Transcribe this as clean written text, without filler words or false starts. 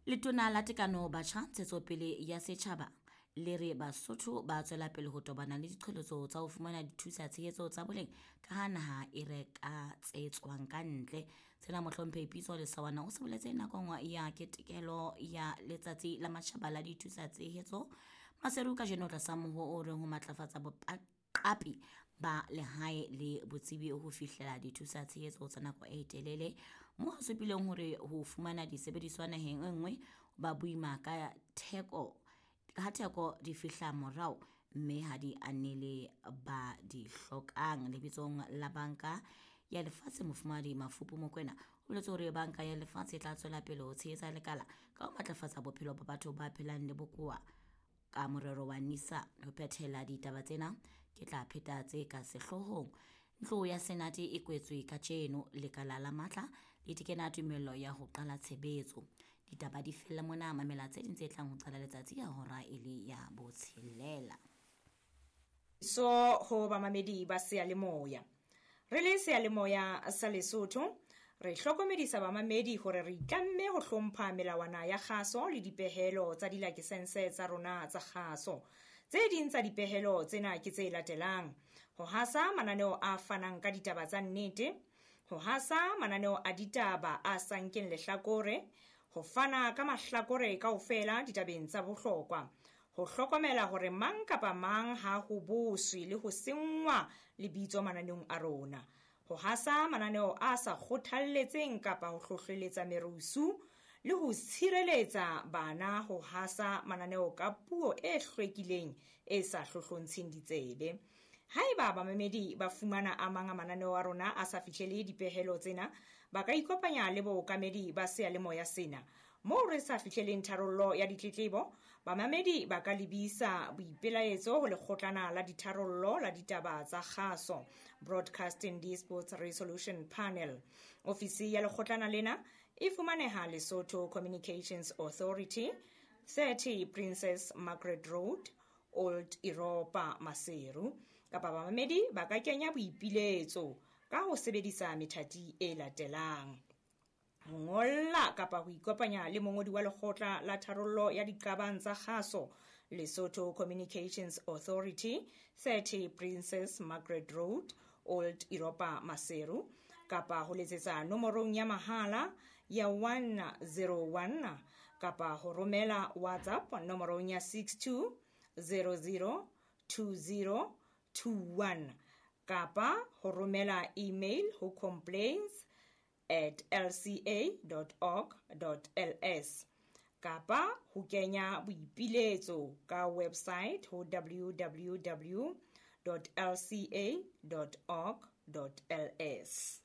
Letona la Tekano Batjha Ntshetsopele ya Setjhaba le re Basotho ba tswela pele ho tobana le diqholotso tsa ho fumana dithusa tshehetso tsa boleng ka ha naha e reka tse tswang ka ntle. Sena Mohlomphehi Pitso Lesawana o se boletse nakong ya ketekelo ya Letsatsi la Matjhaba la Dithusa Tshehetso Maseru kajeno tlasa moho o reng ho matlafatsa boqapi ba lehae le botsebi ho fihlela dithusa tshehetso tsa nako e telele, moo a supileng hore ho fumana disebediswa naheng e nngwe ba boima ka theko ha theko di fihla morao mme ha di anele ba di hlokang. Lebitsong la Banka ya Lefatshe, Mofumahadi Mafupu Mokwena o boletse hore Banka ya Lefatshe e tla tswela pele ho tshehetsa lekala ka ho matlafatsa bophelo ba batho ba phelang le bokowa ka morero wa NISA. Ho phethela ditaba tsena, ke tla pheta tse ka sehloohong. Ntlo ya Senate e kwetswe kajeno, lekala la matla le tekena tumello ya ho qala tshebetso. Ditaba di fella mona, mamela tse ding tse tlang ho qala letsatsi ya hora e le ya botshelela. So ho bamamedi ba seyalemoya. Re le seyalemoya sa Lesotho, re hlokomedisa bamamedi hore re itlamme ho hlompha melawana ya kgaso le dipehelo tsa dilakesense tsa rona tsa kgaso. Tse ding tsa dipehelo tsena ke tse latelang: ho hasa mananeo a fanang ka ditaba tsa nnete, ho hasa mananeo a ditaba a sa nkeng lehlakore, ho fana ka mahlakore kaofela ditabeng tsa bohlokwa, ho hlokomela hore mang kapa mang ha ho boswe le ho senngwa lebitso mananeong a rona, ho hasa mananeo a sa kgothalletseng kapa ho hlohleletsa merusu, le ho tshireletsa bana ho hasa mananeo ka puo e hlwekileng e sa hlohlontsheng ditsebe. Haeba bamamedi ba fumana a mang a mananeo a rona a sa fihlele dipehelo tsena, ba ka ikopanya le bookamedi ba seyalemoya sena. Moo re sa fihleleng tharollo ya ditletlebo, bamamedi ba ka lebisa boipelaetso ho lekgotlana la ditharollo la ditaba tsa kgaso, Broadcasting Disputes Resolution Panel. Ofisi ya lekgotlana lena e fumaneha Lesotho Communications Authority, 30 Princess Margaret Road, Old Europa, Maseru. Kapa bamamedi ba ka kenya boipiletso ka ho sebedisa methati e latelang: ho ngolla kapa ho ikopanya le mongodi wa lekgotla la tharollo ya diqabang tsa kgaso, Lesotho Communications Authority, 30 Princess Margaret Road, Old Europa, Maseru, kapa ho letsetsa nomorong ya mahala ya 101, kapa ho romela WhatsApp nomorong ya 62 00 20 21, kapa ho romela email ho complaints@lca.org.ls, kapa ho kenya boipiletso ka website ho www.lca.org.ls.